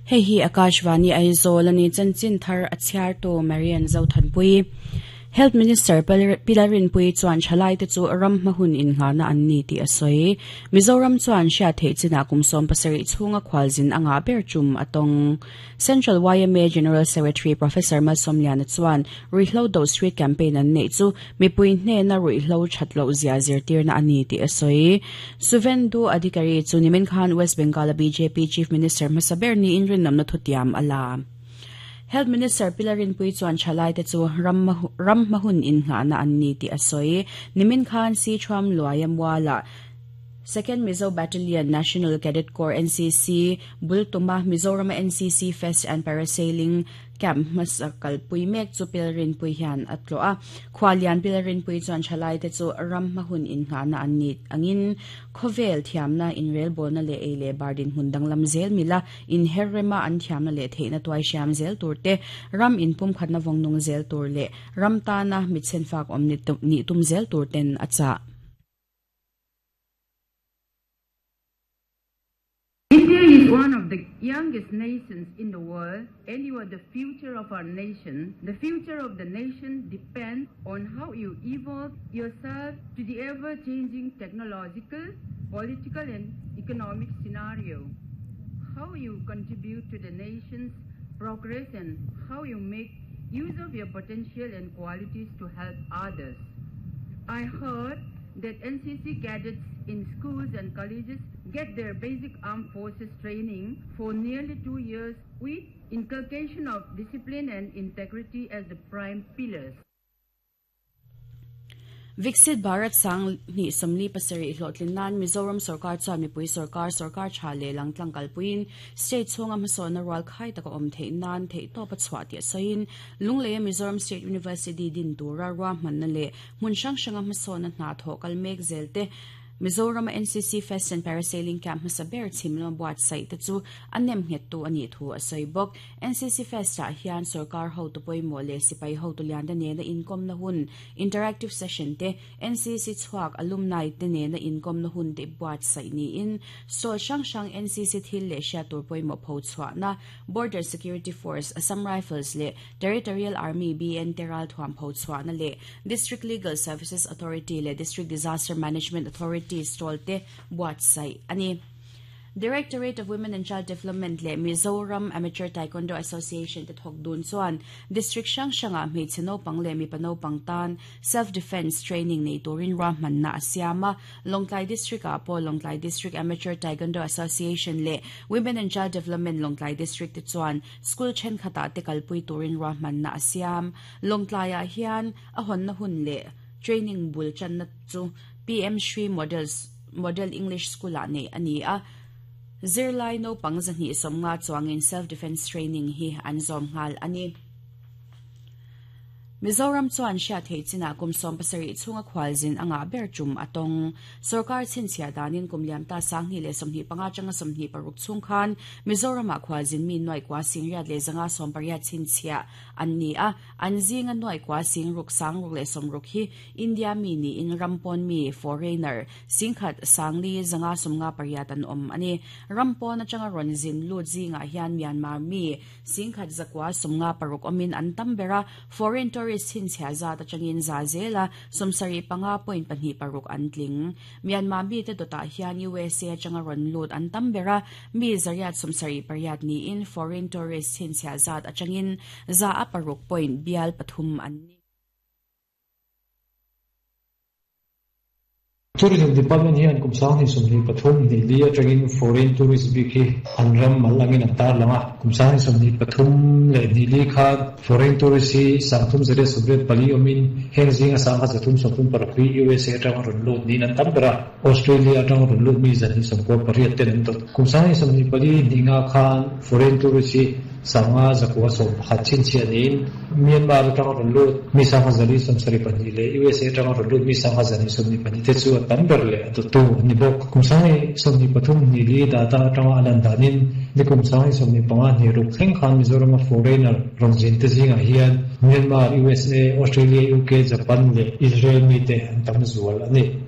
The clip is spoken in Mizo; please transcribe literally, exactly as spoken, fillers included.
Hei hi Akashvani Aizawl ani chanchin thar a chhiar tu Marian Zothanpui. Health Minister Pilarin Pui chuan thalai te chu ram hmahun in ngana an ni ti a sawi. Mizoram chuan hriat theih chinah kum sawm pasarih chhunga khualzin anga ber chum atawng. Central Y M A General Secretary Professor Malsawmliana chuan Ruihhlo Do Street Campaign an neih chu mipui hnena ruihhlo thatlo zia zirtirna ani ti a sawi. Suvendu Adhikari chu nimin khan West Bengal B J P Chief Minister hmasa ber ni in rinawmna thutiam a la. Health Minister Pilarin Pui chuan thalai te chu ram ram hmahun in ngana an ni ti a sawi. Nimin khan si thuam luaya muala Second Mizo Battalion National Cadet Corps N C C Bultuma Mizoram N C C Fest and Parasailing Camp hmasa kalpui mek chu Pilarin Pui hian a tlo a. Khwalian Pilarin Pui chuan thalai te chu ram hmahun in ngana an ni angin khovel thiamna in rel bolna le ei le bardin hun danglam zel mila in herrema an thiamna le theina tuai siam zel tur te ram in pum khatna vongnung zel tur le ram ta na mitsen fak om ni ni tum zel tur ten acha. India is one of the youngest nations in the world, and you are the future of our nation. The future of the nation depends on how you evolve yourself to the ever-changing technological, political, and economic scenario. How you contribute to the nation's progress and how you make use of your potential and qualities to help others. I heard that N C C cadets in schools and colleges get their basic armed forces training for nearly two years with inculcation of discipline and integrity as the prime pillars. Viksit Bharat sang ni somli pasarih hlotlin nan Mizoram sarkar chuan mipui sarkar sarkar tha le langtlang kalpuin state chhunga hmasawnna rual khai taka awm theih nan theih tawp a chhuah tih a sawiin Lungleia Mizoram State University din tura ruahmanna leh hmun hrang hranga hmasawnna hna thawh kal mek zel te Mizoram N C C Fest and Parasailing Camp hmasa ber chhimlama buatsaih te chu a nem nghet tu ani thu a sawi bawk. N C C Fest ah hian sarkar ho tu pawimawh leh sipai ho tu lian te nena inkawmna hun interactive session te N C C chhuak alumni te nena inkawmna hun te buatsaih niin stall hrang hrang N C C thil leh hriat tur pawimawh pho chhuahna Border Security Force, Assam Rifles leh Territorial Army B N Teral thuam pho chhuahna leh District Legal Services Authority leh District Disaster Management Authority stall te buatsaih ani. Directorate of Women and Child Development le Mizoram Amateur Taekwondo Association te thok dun chuan district hrang hranga hmeichhe naupang leh mipa naupang tan self defense training nei turin ruahmanna a siam a. Lawngtlai District ah pawh Lawngtlai District Amateur Taekwondo Association leh Women and Child Development Lawngtlai District te chuan school thenkhatah te kalpui turin ruahmanna a siam. Lawngtlai ah hian a hawnna hun leh training bul channa chu P M Shri Models Model English School ah nei ani a. Zirlai naupang zahnih sawmnga chuangin self defense training hi an zawm nghal ani. Mizoram chuan hriat theih chinah kum sawm pasarih chhunga khualzin anga ber tum atawng. Sarkar chhinchhiah danin kum liam ta sanghnih leh sawmhnih panga changa sawmhnih paruk chhung khan Mizoramah khualzin mi nuai kwa singriat leh zanga sawm pariat chhinchhiah an ni a. An zinga nuai kwa singruk sangruk leh sawmruk hi India mi ni in rampawn mi foreigner singkhat sangli zanga sawmnga pariat an awm ani. Rampawn atanga rawn zin lut zinga hian Myanmar mi singkhat zakwa sawmnga paruk awmin an tam bera. Foreign tourist chhinchhiah zat atangin za zela sawmsarih panga point pahnih paruk an tling. Myanmar mi te dawtah hian U S A atanga rawn lut an tam bera mi zariat sawmsarih pariat niin foreign tourist chhinchhiah zat atangin za a paruk point bial pathum an ni. Tourism Department hian kum sanghnih sawmhnih pathum hnih li atangin foreign tourist bik hi an ram mal angin an tar langa. Kum sanghnih sawmhnih pathum leh hnih li khan foreign tourist hi sangthum zariat sawmriat pali awmin heng zinga sangkhat zathum sawmthum paruk hi U S A atanga rawn lut niin an tam bera. Australia atanga rawn lut mi zahnih sawmkua pariat ten an dawt. Kum sanghnih sawmhnih pali hnih nga khan foreign tourist hi sanga zakua sawm pakhat chhinchhiah niin Myanmar atanga rawn lut mi sangkhat zali sawmsarih pahnih leh U S A atanga rawn lut mi sangkhat zahnih sawmhnih pahnih te chu a tam ber leh a dawttu ani bawk. Kum sanghnih sawmhnih pathum hnih li data atanga a lan danin ni kum sanghnih sawmhnih panga hnih ruk thleng khan Mizorama foreigner rawn zin te zingah hian Myanmar, U S A, Australia, U K, Japan leh Israel mi te an tam zual ani.